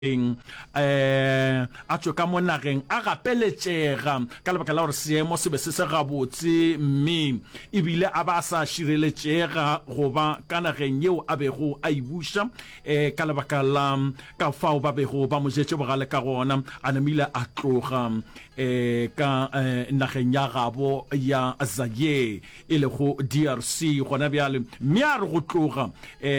Um a tšwe ka mo nageng a gapeletšega ka lebaka la gore seemo se be se se gabotse mme ebile a ba a sa šireletšega go ba ka nageng yeo a bego a e buša um ka lebaka la ka fao ba bego ba mo jetše bogale ka gona. A namile a tloga um ka nageng ya gabo ya Zaire. e lego DRC gona bjale, mme a re go tloga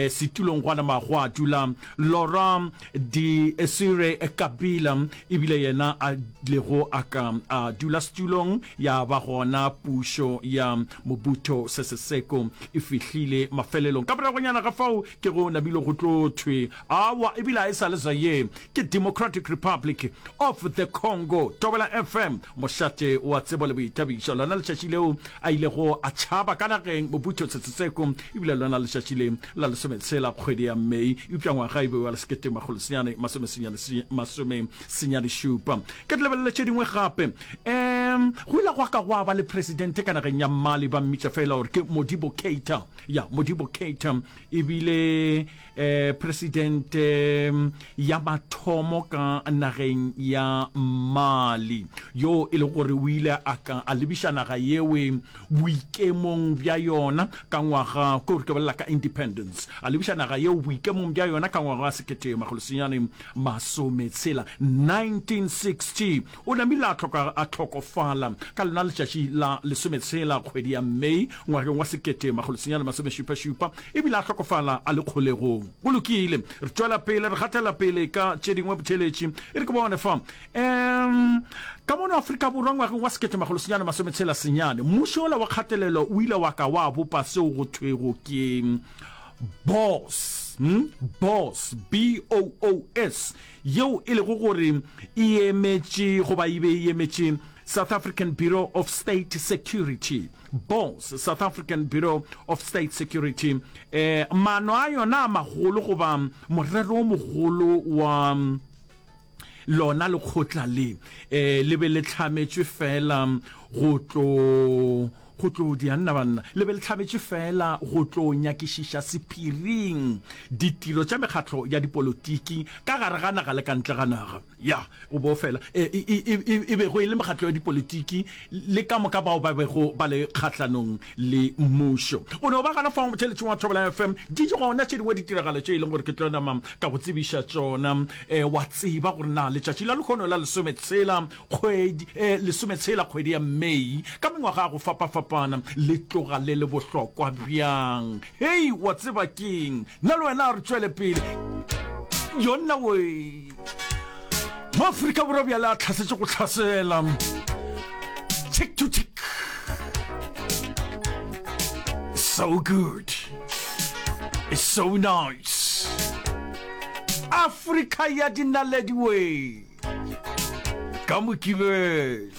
setulong gwa nama gwa dula Laurent Desire Kabila, e bile yena a lego a ka a dula setulong ya ba gona pušo ya Mobutu Sese Seko e fihlile mafelelong. Ka moragonyana ga fao ke go namile go tlo thwe awa e bile a e sa le Zaire ke Democratic Republic of the Congo. Thobela FM, mošate wa tsebo le boithabišo. Lona letšatši leo a ilego a tšhaba ka nageng Mobutu Setsetseko, e bile lona letšatši le la lesometshela kgwedi ya Mei, eupša ngwaga e be wa lesekete makgolo senyane masome senyane masome senyane šupa. Ke di lebelele tše dingwe gape. Um go ile gwa ka gwa ba le presidente ka nageng ya Mali, ba mmitša fela gore ke Modibo Keita. Ya, Modibo Keita e bile Presidente ya mathomo ka nageng ya Mali, yo e lego gore o ile a ka a lebiša naga yewe boikemong bja yona ka ngwaga, ke gore ke bolela ka independence, a lebiša naga yeo boikemong bja yona ka ngwaga wa 1960, 1960. O namile a hloka a hlokofala ka lona letšatši la lesometshela kgwedi ya May ngwageng wa 1977, e bile a hlokofala a le kgolegong. Go lokile, re tšwela pele, re gatela pele ka tše dingwe botheeletši. E re ke bone fa. Um, ka mono Afrika Borwa ngwageng wa 1969, mmušo wola wa kgatelelo o ile wa ka wa bopa seo go thwego ke BOOS, hmm? BOOS, B-O-O-S, yeo e lego gore e emetše goba e be e emetše South African Bureau of State Security, BOS, South African Bureau of State Security, eh, maano a yona a magolo goba morero o mogolo wa lona lekgotla le eh, le be le hlametšwe fela go tlo go tlo dia nna banna le be le hlametšwe fela go tlo nyakišiša sephiring ditiro tša mekgatlo ya dipolotiki ka gare ga naga le ka ntle ga naga. Ya, o bo fela e, e, e, e, e bego e le mekgatlo ya dipolitiki le ka moka bao ba bego ba le kgahlanong le mmušo. O no ba gana fao motheeletšing wa Thobela FM, di gona tše dingwe ditiragalo tše e leng gore ke tlo nama ka go tsebiša tšona. E, wa tseba gore na letšatši la lehono la lesometshela kgwedi, e, lesometshela kgwedi ya May ka mengwaga ya go fapafapana le tloga le le bohlokwa bjang. Hei, wa tseba keng? Nna le wena a re tšwele pele. Yonna we. Maafrika Borwa bjale a tlhasetše go tlhasela. Tick to tick. So good. It's so nice. Afrika ya dinaledi we. Ka Mokibelo.